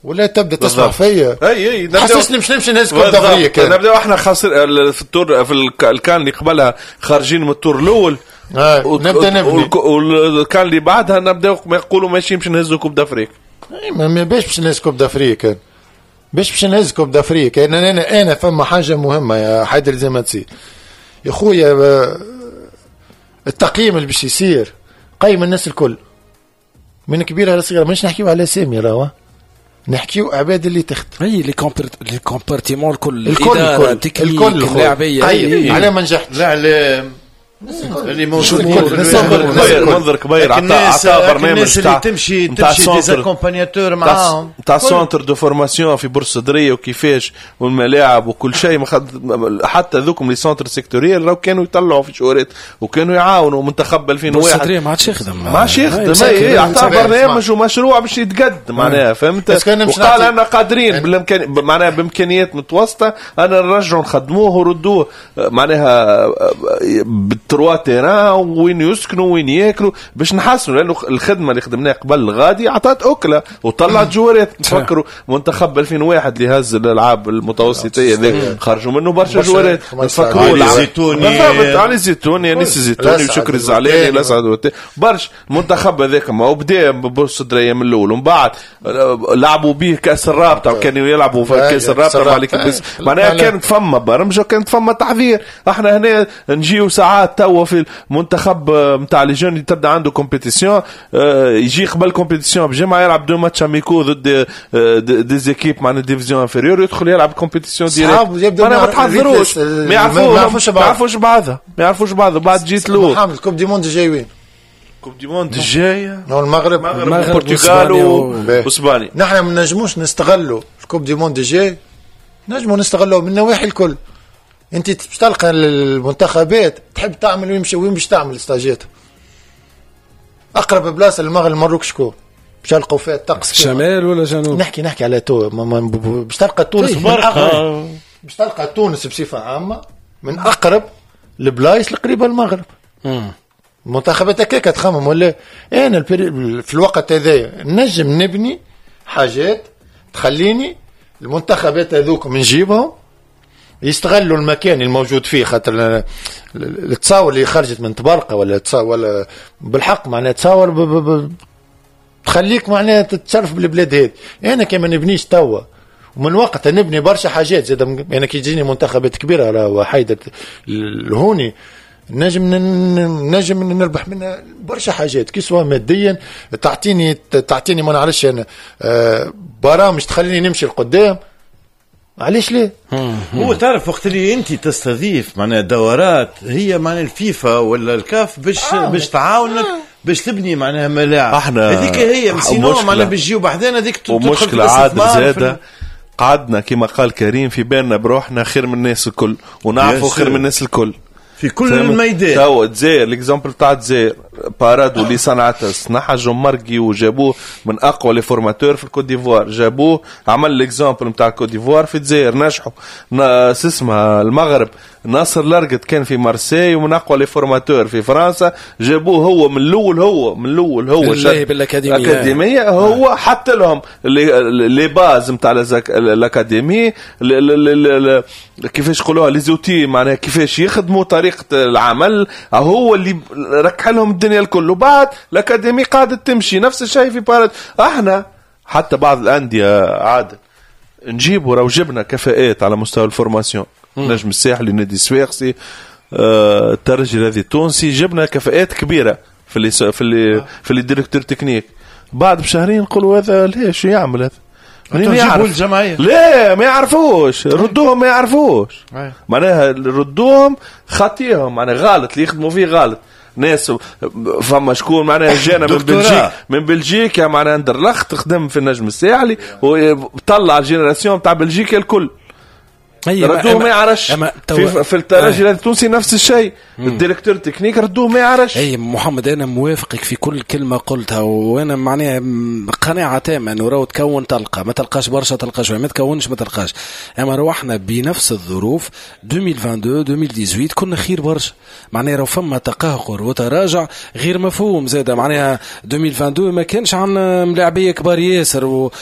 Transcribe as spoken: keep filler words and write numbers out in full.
ولا تبدا تسمع فيا. اي اي. حسسني باش نمشي نهز coupe d'Afrique. نبداو احنا خاسر في ال tour، في الكان اللي قبلها خارجين من ال tour الاول. آه. نبدا نبني. والكان اللي بعدها نبداو يقولوا ماشي باش نهزوا coupe d'Afrique. ما باش باش نهز coupe d'Afrique، باش باش نهز coupe d'Afrique. انا انا انا فما حاجة مهمة يا حيدر زي ما تصير يا خويا، التقييم اللي باش يصير قيم الناس الكل من كبيرها لصغيرها. مش نحكيو على سامي، راهو نحكيو عباد اللي تخدم. اي les les compartiments الكل. الكل الكل الكل. اللاعبيه. على ما نجحت. الاعلام اللي موجود. منظر كبير عطى عطى برنامج. الناس اللي تمشي تمشي des accompagnateurs معاهم. تاع centre de formation في بورصدريه وكيفاش والملاعب وكل شيء. حتى ذوكم les centres sectoriels راهو كانوا يطلعوا في شورات وكانوا يعاونوا منتخب ألفين وواحد. بورصدريه ما عادش يخدم. ما عادش يخدم. اي، عطى برنامج ومشروع باش يتقد معناها، فهمت؟ وقال انا قادرين بالامكان معناها بامكانيات متوسطه انا نرجعوا نخدموه وردوه معناها بال trois terrains، وين يسكنوا وين ياكلوا، باش نحسنوا، لانه الخدمة اللي خدمناها قبل غادي عطات اكله وطلعت جوارات. نفكروا منتخب ألفين وواحد اللي هز الالعاب المتوسطيه ذاك، خرجوا منه برشا جوارات. نفكروا علي زيتوني. علي زيتوني، انيس الزيتوني وشكري الزعلاني، الاسعد برشا. المنتخب هذاك ما هو بدا بورصدريه من الاول، ومن بعد لعبوا به كاس الرابطه، وكانوا يلعبوا في كاس الرابطة مع معناها كانت فما برمجة وكانت فما تحضير. احنا هنا نجيو ساعات توا في المنتخب نتاع les jeunes تبدا عنده compétition، يجي قبل compétition بجمعه يلعب deux matchs amicaux ضد des équipes معناها division inférieure، يدخل يلعب compétition directe. معناها ما تحضروش، ما يعرفوش، ما يعرفوش بعضها، ما يعرفوش بعضها. بعد جيت له محمد، coupe du monde جاي وين؟ coupe du monde الجاية المغرب. المغرب، البرتغال واسبانيا. نحن ما نجموش نستغلوا ال coupe du monde الجاي؟ نجموا نستغلوا من النواحي الكل. انت باش تلقى المنتخبات تحب تعمل وين، وين باش تعمل ستاجات؟ اقرب بلاصة للمغرب المروك شكون باش تلقوا فيها الطقس؟ شمال ولا جنوب؟ نحكي نحكي على تو باش تلقى تونس من أقرب، باش تلقى تونس بصفة عامة من اقرب البلايص القريبة للمغرب. المنتخبات هكاك تخمم ولا؟ انا في الوقت هذايا نجم نبني حاجات تخليني المنتخبات هذوك نجيبهم يستغلوا المكان الموجود فيه، خاطر التصاور اللي خرجت من طبرقه ولا تصاور ولا بالحق معناها تصاور تخليك معناها تتشرف بالبلاد هذه. انا كما نبنيش توا ومن وقتها نبني برشا حاجات زاد، انا كي تجيني منتخبات كبيرة راهو حيدر الهوني نجم نجم نربح منها برشا حاجات، que ce soit ماديا، تعطيني تعطيني ما نعرفش انا آه، برامج تخليني نمشي لقدام، علاش ليه؟ هو تعرف وقت اللي انت تستضيف معناها دورات هي معناها الفيفا ولا الكاف باش آه باش تعاونك آه. باش تبني معناها ملاعب. احنا هذيك هي، sinon معناها باش تجيو بحذانا هذيك. ومشكلة عاد زاده قعدنا كما قال كريم في بالنا بروحنا خير من الناس الكل ونعرفوا خير من الناس الكل. في كل الميدان. تو الجزائر، l'exemple تاع الجزائر، بارادو اللي صنعتها صنعها جون ماركي وجابوه من اقوى les formateurs في الكوت ديفوار، جابوه عمل l'exemple نتاع الكوت ديفوار في الجزائر، نجحوا. اسمها المغرب، ناصر لارقت كان في مارسي ومن اقوى les formateurs في فرنسا، جابوه هو من الاول، هو من الاول هو بالاكاديميه. الاكاديميه هو حط لهم les bases نتاع l'académie، كيفاش يقولوها، les outils، معناها كيفاش يخدموا، طريقه العمل، هو اللي ركح لهم الدنيا الكل، وبعد l'académie قاعدة تمشي. نفس الشيء في بارادو. احنا حتى بعض الاندية عاد نجيبوا، راهو جبنا كفاءات على مستوى ال formation، نجم الساحلي، نادي الصفاقسي، آه، الترجي الرياضي التونسي، جبنا كفاءات كبيرة في اللي في اللي في les directeurs techniques، بعد بشهرين نقولوا هذا ليش يعمل هذا؟ منين يعرف الجمعية؟ لا، ما يعرفوش، ردوهم ما يعرفوش، معناها ردوهم خاطيهم، معناها غلط اللي يخدموا فيه غلط. ناس فما شكون معناها جانا من بلجيك من بلجيكا معناها اندرلخت خدم في النجم الساحلي وطلع ال génération تاع بلجيكا الكل، ردوه ما يعرفش. في, في الترجي التونسي نفس الشيء، ال directeur technique ردوه ما يعرفش. اي محمد، انا موافقك في كل كلمة قلتها، وانا معناها قناعة تامة انه راهو تكون تلقى، ما تلقاش برشا تلقى شويه، ما تكونش ما تلقاش. اما روحنا بنفس الظروف ألفين واثنين وعشرين ألفين وثمنطاش كنا خير برشا، معناها راهو فما تقهقر وتراجع غير مفهوم زاد. معناها ألفين واثنين وعشرين ما كانش عندنا ملاعبيه كبار ياسر و...